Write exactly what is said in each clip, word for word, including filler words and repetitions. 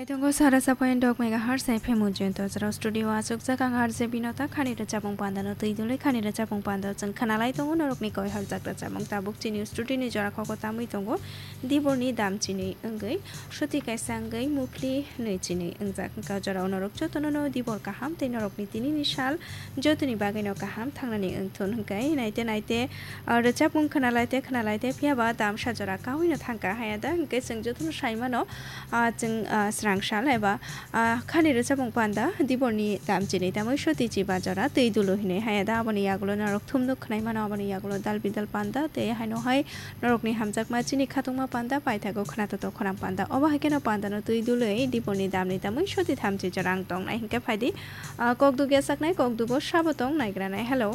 Tongo sara sapoyan dok megahertz F M Ujjayanta Chwrao studio achukjak ang R J Binota khani rwchapmung pandano twi dului khani rwchapmung pando chwng khwnalai tongo norokni koihorjak rwchapmung tabuk chini studio ni jora khogo tamwi tongo diborni dam chini wngwi soti kaisa wngwi muphli nwi chini wngjak wngkha jorao norok jotono no dibor kaham tei norokni tinini sal jotoni bagwino kaham thangnani wngthun hwnkhe naite naite ah, rwchapmung khwnalai te khwnalai te phiya ba damsa jora kawino thangkha haya da hwnkhe chwng jotono sai mano ah, chwng ah, srang sal eba ah, khani rwchapmung panda diborni dam chini tamwi soti chiba jora twi dulu hinwi haya da aboni yagulo norok thumnuk khwnai mano aboni yagulo dal bidal panda tei haino hai norokni hamjakma chini khatungma panda paithago khwnato to khwnam panda obo hai kheno pandano twi dului diborni damni tamwi soti thamchi jora ang tongnai hwnkhe phaidi ah, kokduk yasaknai kokdugo sabo tong naigranai hello.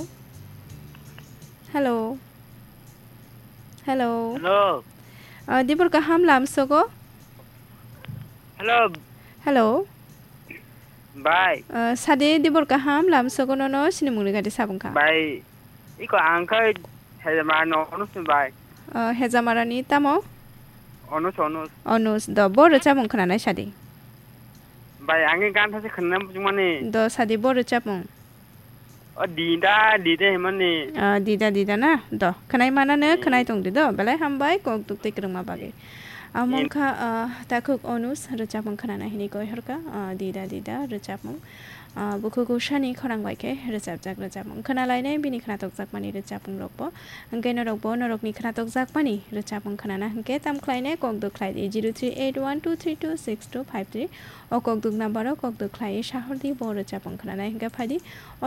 Hello. Hello. Hello. Ah, dibor kaham lamsogo? Hello. Hello. Bai. Ah, sade dibor kaham lamsogo nono sini mungni gadi sabung kha. Bai. Iko ang khai hejama no onus ni bai. Ah, hejamarani tamo? Onus, onus. Onus do bo rwchapmung khwnanai sadi. Bai, ang gan thase khwnna bujumani. Do sadi bo rwchapmung. O dida, dida himani. Ah, dida, dida na? Do, khwnai mana no, Hmm. khwnai tong di do. Belai hambai, kok duk tei kwrwngma bagwi. Among Ni- kha, ah, takhuk onus, rwchapmung khwnana hini koi horka, ah, dida, dida, rwchapmung. Ah, bukhugo sani khorang bai khe rwchapjak rwchapmung. Khwnalainai bini khwnatokjakmani rwchapmung rokbo. Hwnkhe norokbo, norokni khwnatokjakmani rwchapmung khwnana hwnkhe tam khlainai kok duk khlai di, zero three eight one two three two six two five three. O kok duk number o kok duk khlai sahor di, bo rwchapmung khwnanai hwnkhe phai di.